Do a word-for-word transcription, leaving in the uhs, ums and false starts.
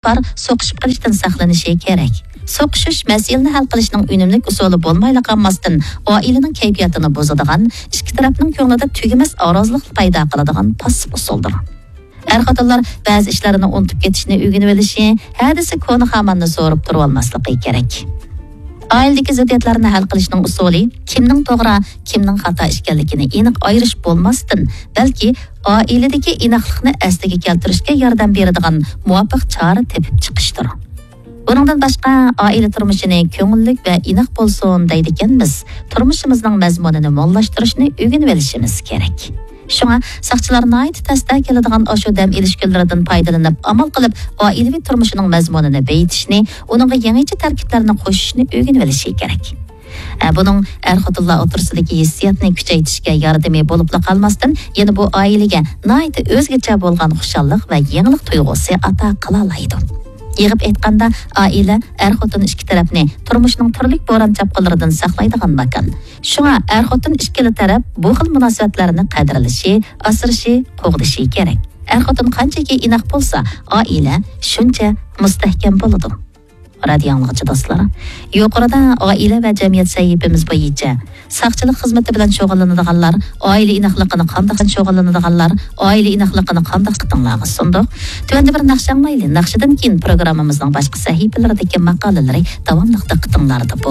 بار سوقۇشۇپ قېلىشتىن ساقلىنىشى كېرەك. سوقۇشۇش مەسىلىنى ھەل قىلىشنىڭ ئۈنۈملۈك ئۇسۇلى بولمايلا قالماستىن، ئائىلىنىڭ كەيپىياتىنى بۇزىدىغان، ئىككى تەرەپنىڭ كۆڭلىدە تۈگىمەس ئارازلىق پەيدا قىلىدىغان پاسسىپ ئۇسۇلدۇر. ئەر-خوتۇنلار بەزى ئىشلارنى ئۇنتۇپ كېتىشنى ئۆگىنىۋېلىشى، ھە دېسە كونا خاماننى سورۇپ تۇرۇۋالماسلىقى كېرەك. ئائىلىدىكى زىددىيەتلەرنى ھەل قىلىشنىڭ ئۇسۇلى كىمنىڭ توغرا، كىمنىڭ خاتا ئىكەنلىكىنى ئېنىق ئايرىش بولماستىن، بەلكى ئائىلىدىكى ئىناقلىقنى ئەسلىگە كەلتۈرۈشكە ياردەم بېرىدىغان مۇۋاپىق چارە تېپىپ چىقىشتۇر. بۇنىڭدىن باشقا، ئائىلە تۇرمۇشىنى كۆڭۈللۈك ۋە ئىناق بولسۇن دەيدىكەنمىز، تۇرمۇشىمىزنىڭ مەزمۇنىنى موللاشتۇرۇشنى ئۆگىنىۋېلىشىمىز كېرەك. شۇڭا ساقچىلار ناھايىتى تەستە كېلىدىغان ئاشۇ دەم ئېلىش كۈنلىرىدىن پايدىلىنىپ، ئامال قىلىپ ئائىلىۋى تۇرمۇشىنىڭ مەزمۇنىنى بېيىتىشنى، ئۇنىڭغا يېڭىچە تەركىبلەرنى قوشۇشنى ئۆگىنىۋېلىشى كېرەك. ئە، بۇنىڭ ئەر-خوتۇنلار ئوتتۇرىسىدىكى ھېسسىياتنى كۈچەيتىشكە ياردىمى بولۇپلا قالماستىن، يەنە بۇ ئائىلىگە ناھايىتى ئۆزگىچە بولغان خۇشاللىق ۋە يېڭىلىق تۇيغۇسى ئاتا قىلالايدۇ. يىغىپ ئېيتقاندا، ئائىلە ئەر-خوتۇن ئىككى تەرەپنى تۇرمۇشنىڭ تۈرلۈك بوران-چاپقۇنلىرىدىن ساقلايدىغان ماكان. شۇڭا ئەر-خوتۇن ئىككىلا تەرەپ بۇ خىل مۇناسىۋەتلەرنى قەدىرلىشى، ئاسرىشى، قوغدىشى كېرەك. ئەر-خوتۇن قانچىكى ئىناق بولسا، ئائىلە شۇنچە مۇستەھكەم بولىدۇ. رادىيو ئاڭلىغۇچى دوستلار، يۇقىرىدا ئائىلە ۋە جەمئىيەت سەھىپىمىز بويىچە ساقچىلىق خىزمىتى بىلەن شۇغۇللىنىدىغانلار، ئائىلە ئىناقلىقىنى قانداق شۇغۇللىنىدىغانلار، ئائىلە ئىناقلىقىنى قانداق دىققىتىڭلارغا سۇندۇق. تۆۋەندە بىر ناخشا ئاڭلايلى. ناخشىدىن كېيىن پروگراممىمىزنىڭ باشقا سەھىپىلىرىدىكى ماقالىلىرى داۋاملىق دىققىتىڭلاردا بولىدۇ.